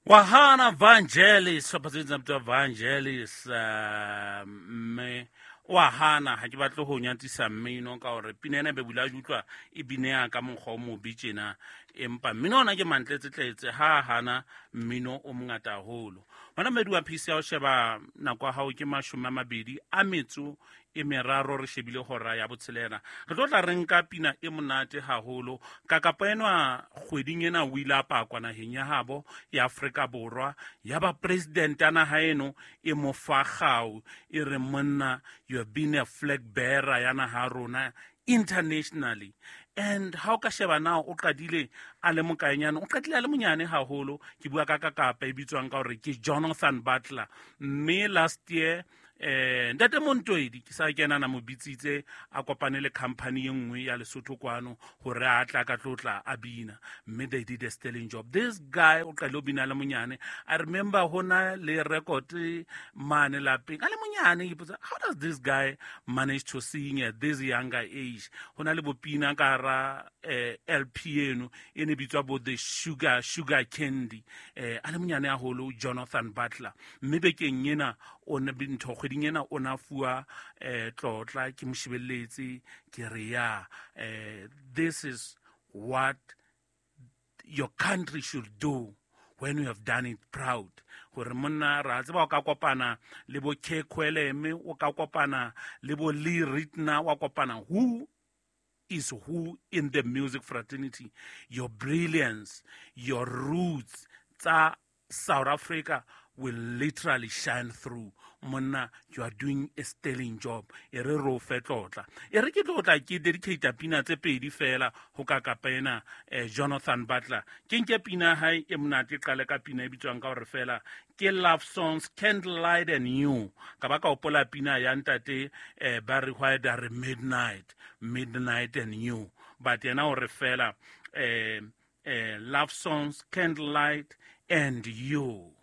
Wahana Vangelis, sehlopha se bitsang Vangelis, mme wa hana ha ke batle ho nyatsisa mmino ka hore pina ena e be bula utlwa e bineya ka mokgwa o mobe tjena, empa mmino ona ke mantletsetletse ha hana mmino o mongata haholo. Hona mmedi wa phisi ya ho sheba nako ya hao ke 23 re shebile hora ya 6. Re tlo tla re nka pina e monate haholo. Kakapa enwa kgweding ena o ile a pakwa naheng ya habo ya Afrika Borwa, ya ba president ya naha eno e mo fa kgau, e re monna, you have been a flag bearer ya naha ya rona internationally. And ha o ka sheba na o qadile a le mokaenyane, o qadile a le monyane haholo. Ke bua ka kakapa e bitswang ka hore ke Jonathan Butler. Mme last year Ntate Montoedi ke sa kena na mo bitsitse a kopane le company e nngwe ya Lesotho kwano hore a tla ka tlotla a bina, mme they did a sterling job. This guy o qadile ho bina le monyane. I remember hona le record mane lapeng a le monyane, ke ipotsa how does this guy manage to sing at this younger age. Hona le bopina ka hara LP eno e ne bitswa bo the sugar candy, a le monyane haholo Jonathan Butler. Mme bekeng ena o ne ntho kgweding ena o na fuwa tlotla ke moshebelletse ke re ya, this is what your country should do when you have done it proud. Hore monna ra tseba o ka kopana le bo Kekweleme, o ka kopana le bo Lee Ritner, wa kopana who is who in the music fraternity. Your brilliance, your roots tsa South Africa will literally shine through. Monna, you are doing a sterling job. E re ro fe tlotla. E re ke tlotla ke dedicate pina tse pedi fela ho ka kapa ena, Jonathan Butler. Ke nke pina hae e monate, qale ka pina e bitswang ka hore fela ke Love Songs, Candlelight and You. Ka ba ka hopola pina ya ntate, Barry White a re Midnight, Midnight and You. But yena o re fela, Love Songs, Candlelight and You.